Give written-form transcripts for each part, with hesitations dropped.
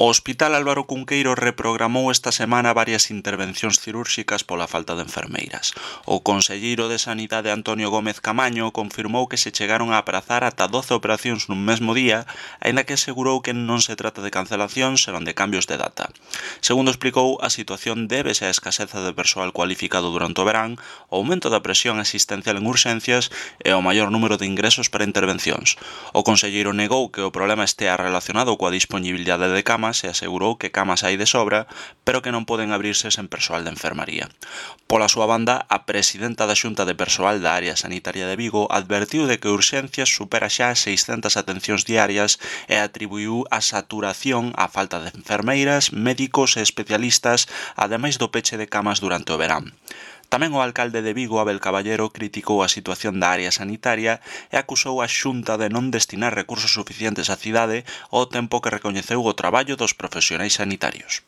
O Hospital Álvaro Cunqueiro reprogramou esta semana varias intervencións cirúrxicas pola falta de enfermeiras. O conselleiro de Sanidade Antonio Gómez Camaño confirmou que se chegaron a aprazar ata 12 operacións nun mesmo día, aínda que asegurou que non se trata de cancelacións, senón de cambios de data. Segundo explicou, a situación débese á escaseza de persoal cualificado durante o verán, o aumento da presión asistencial en urxencias e o maior número de ingresos para intervencións. O conselleiro negou que o problema estea relacionado coa dispoñibilidade de camas e asegurou que camas hai de sobra, pero que non poden abrirse sen persoal de enfermaría. Pola súa banda, a presidenta da Xunta de Persoal da Área Sanitaria de Vigo advertiu de que Urxencias supera xa 600 atencións diarias e atribuiu a saturación á falta de enfermeiras, médicos e especialistas, ademais do peche de camas durante o verán. Tamén o alcalde de Vigo, Abel Caballero, criticou a situación da área sanitaria e acusou a Xunta de non destinar recursos suficientes á cidade ao tempo que recoñeceu o traballo dos profesionais sanitarios.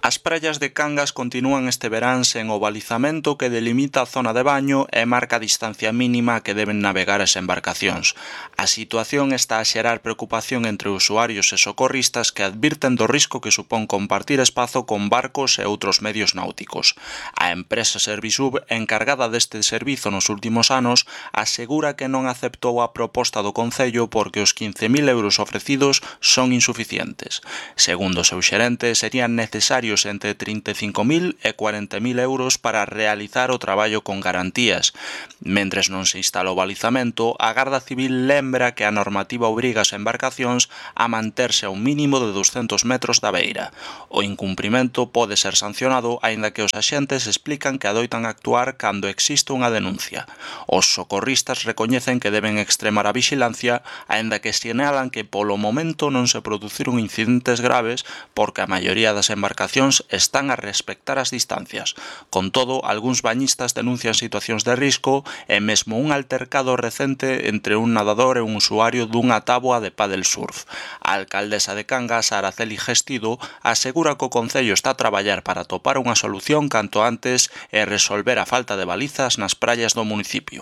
As praias de Cangas continúan este verán sen o balizamento que delimita a zona de baño e marca a distancia mínima que deben navegar as embarcacións. A situación está a xerar preocupación entre usuarios e socorristas que advirten do risco que supón compartir espazo con barcos e outros medios náuticos. A empresa Servisub, encargada deste servizo nos últimos anos, asegura que non aceptou a proposta do Concello porque os 15.000 euros ofrecidos son insuficientes. Segundo o seu xerente, serían necesarios entre 35.000 e 40.000 euros para realizar o traballo con garantías. Mentres non se instala o balizamento, a Garda Civil lembra que a normativa obriga as embarcacións a manterse a un mínimo de 200 metros da beira. O incumprimento pode ser sancionado, aínda que os axentes explican que adoitan actuar cando existe unha denuncia. Os socorristas recoñecen que deben extremar a vixilancia, aínda que sinalan que polo momento non se produciron incidentes graves porque a maioría das embarcacións están a respectar as distancias. Con todo, algúns bañistas denuncian situacións de risco e mesmo un altercado recente entre un nadador e un usuario dunha táboa de pádel surf. A alcaldesa de Cangas, Araceli Gestido, asegura que o Concello está a traballar para atopar unha solución canto antes e resolver a falta de balizas nas praias do municipio.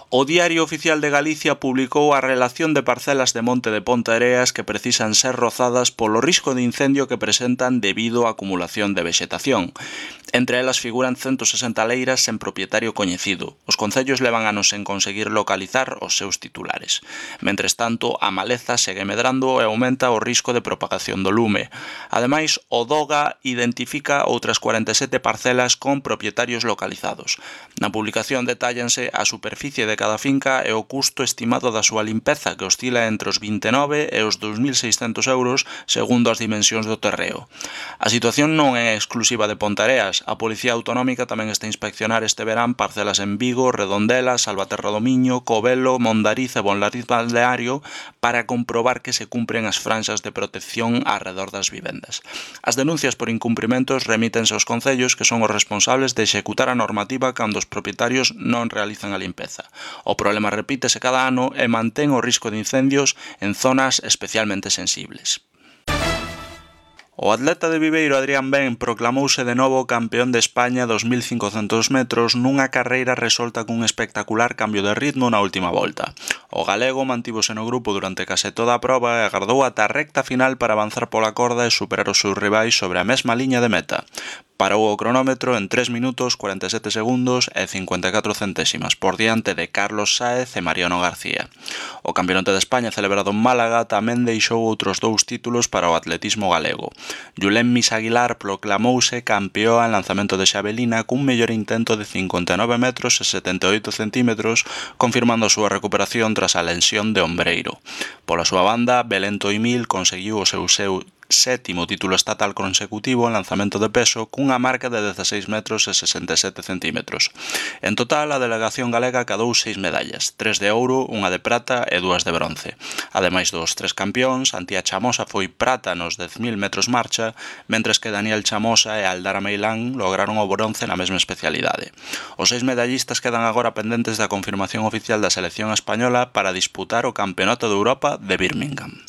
O Diario Oficial de Galicia publicou a relación de parcelas de Monte de Ponteareas que precisan ser rozadas polo risco de incendio que presentan debido á acumulación de vexetación. Entre elas figuran 160 leiras sen propietario coñecido. Os concellos levan anos en conseguir localizar os seus titulares. Mentres tanto, a maleza segue medrando e aumenta o risco de propagación do lume. Ademais, o DOGA identifica outras 47 parcelas con propietarios localizados. Na publicación detállanse a superficie de cada finca e o custo estimado da súa limpeza, que oscila entre os 29 e os 2.600 euros segundo as dimensións do terreo. A situación non é exclusiva de Ponteareas. A Policía Autonómica tamén está a inspeccionar este verán parcelas en Vigo, Redondela, Salvaterra do Miño, Covelo, Mondariz e Bonlariz Balneario para comprobar que se cumpren as franxas de protección arredor das vivendas. As denuncias por incumprimentos remítense aos concellos que son os responsables de executar a normativa cando os propietarios non realizan a limpeza. O problema repítese cada ano e mantén o risco de incendios en zonas especialmente sensibles. O atleta de Viveiro Adrián Ben proclamouse de novo campeón de España 2.500 metros nunha carreira resolta cun espectacular cambio de ritmo na última volta. O galego mantívose no grupo durante case toda a proba e agardou ata a recta final para avanzar pola corda e superar os seus rivais sobre a mesma liña de meta. Parou o cronómetro en 3 minutos, 47 segundos e 54 centésimas por diante de Carlos Sáez e Mariano García. O Campeonato de España celebrado en Málaga tamén deixou outros 2 títulos para o atletismo galego. Julen Misaguilar proclamouse campeón en lanzamento de xavelina cun mellor intento de 59 metros e 78 centímetros, confirmando a súa recuperación tras a lesión de ombreiro. Pola súa banda, Belén Toimil conseguiu o seu sétimo título estatal consecutivo en lanzamento de peso cunha marca de 16 metros e 67 centímetros. En total, a delegación galega cadou 6 medallas, 3 de ouro, unha de prata e 2 de bronce. Ademais dos 3 campións, Antía Chamosa foi prata nos 10.000 metros marcha, mentres que Daniel Chamosa e Aldara Meilán lograron o bronce na mesma especialidade. Os 6 medallistas quedan agora pendentes da confirmación oficial da selección española para disputar o Campeonato de Europa de Birmingham.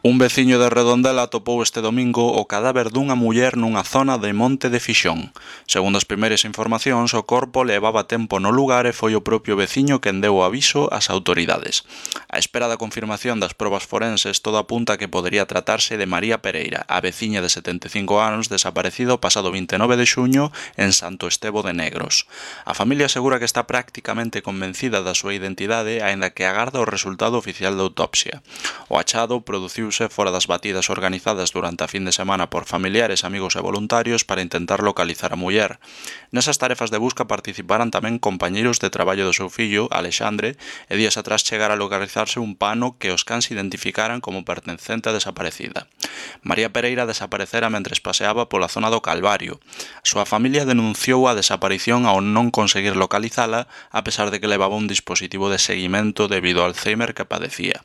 Un veciño de Redondela atopou este domingo o cadáver dunha muller nunha zona de Monte de Fixón. Segundo as primeiras informacións, o corpo levaba tempo no lugar e foi o propio veciño quen deu o aviso ás autoridades. A espera da confirmación das probas forenses, todo apunta que podería tratarse de María Pereira, a veciña de 75 anos desaparecido o pasado 29 de xuño en Santo Estevo de Negros. A familia asegura que está prácticamente convencida da súa identidade, aínda que agarda o resultado oficial da autopsia. O achado produciuse fora das batidas organizadas durante a fin de semana por familiares, amigos e voluntarios para intentar localizar a muller. Nesas tarefas de busca participaran tamén compañeiros de traballo do seu fillo, Alexandre, e días atrás chegara a localizarse un pano que os cans identificaran como pertencente a desaparecida. María Pereira desaparecera mentres paseaba pola zona do Calvario. A súa familia denunciou a desaparición ao non conseguir localizala, a pesar de que levaba un dispositivo de seguimento debido ao Alzheimer que padecía.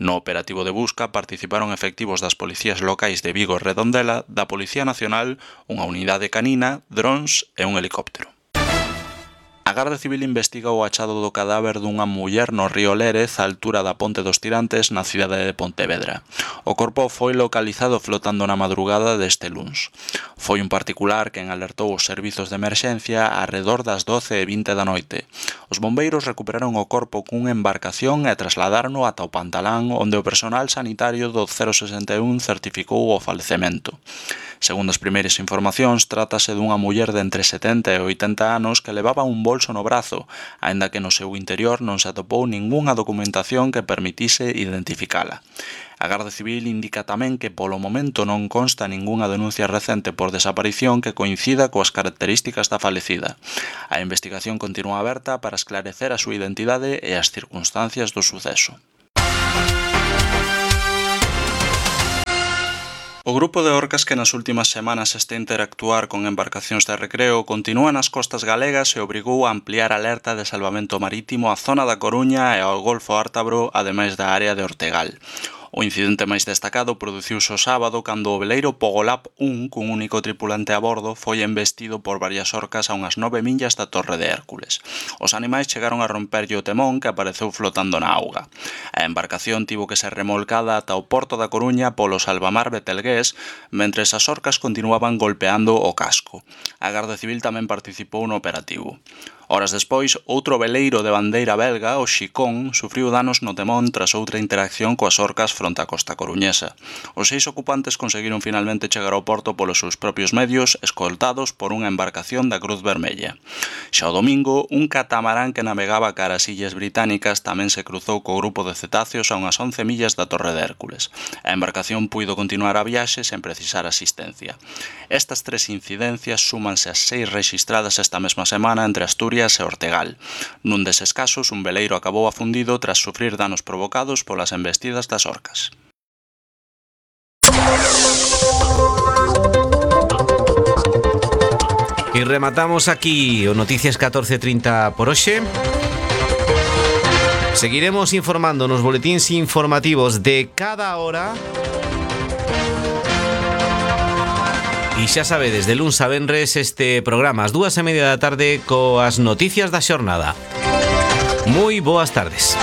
No operativo de busca participaron efectivos das policías locais de Vigo e Redondela, da Policía Nacional, unha unidade canina, drons e un helicóptero. A Garda Civil investiga o achado do cadáver dunha muller no río Lérez, á altura da Ponte dos Tirantes, na cidade de Pontevedra. O corpo foi localizado flotando na madrugada deste luns. Foi un particular quen alertou os servizos de emerxencia arredor das 12:20 da noite. Os bombeiros recuperaron o corpo cunha embarcación e trasladárono ata o Pantalán, onde o personal sanitario do 061 certificou o falecemento. Segundo as primeiras informacións, trátase dunha muller de entre 70 e 80 anos que levaba un bolso no brazo, aínda que no seu interior non se atopou ningunha documentación que permitise identificala. A Garda Civil indica tamén que polo momento non consta ningunha denuncia recente por desaparición que coincida coas características da falecida. A investigación continúa aberta para esclarecer a súa identidade e as circunstancias do suceso. O grupo de orcas que nas últimas semanas está a interactuar con embarcacións de recreo continúa nas costas galegas e obrigou a ampliar a alerta de salvamento marítimo á zona da Coruña e ao Golfo Ártabro, ademais da área de Ortegal. O incidente máis destacado produciuse o sábado cando o veleiro Pogolab 1, cun único tripulante a bordo, foi embestido por varias orcas a unhas 9 millas da Torre de Hércules. Os animais chegaron a romperlle o temón que apareceu flotando na auga. A embarcación tivo que ser remolcada ata o porto da Coruña polo salvamar betelgués, mentres as orcas continuaban golpeando o casco. A Garda Civil tamén participou no operativo. Horas despois, outro veleiro de bandeira belga, o Xicón, sufriu danos no temón tras outra interacción coas orcas fronte á costa coruñesa. Os 6 ocupantes conseguiron finalmente chegar ao porto polos seus propios medios, escoltados por unha embarcación da Cruz Vermella. Xa o domingo, un catamarán que navegaba cara ás Illas Británicas tamén se cruzou co grupo de cetáceos a unhas 11 millas da Torre de Hércules. A embarcación puido continuar a viaxe sen precisar asistencia. Estas 3 incidencias súmanse ás 6 rexistradas esta mesma semana entre Asturias e Ortegal. Nun deses casos, un veleiro acabou afundido tras sufrir danos provocados polas embestidas das orcas. E rematamos aquí o Noticias 14:30 por hoxe. Seguiremos informando nos boletíns informativos de cada hora. E xa sabedes, de luns a venres este programa ás 2:30 da tarde coas noticias da xornada. Moi boas tardes.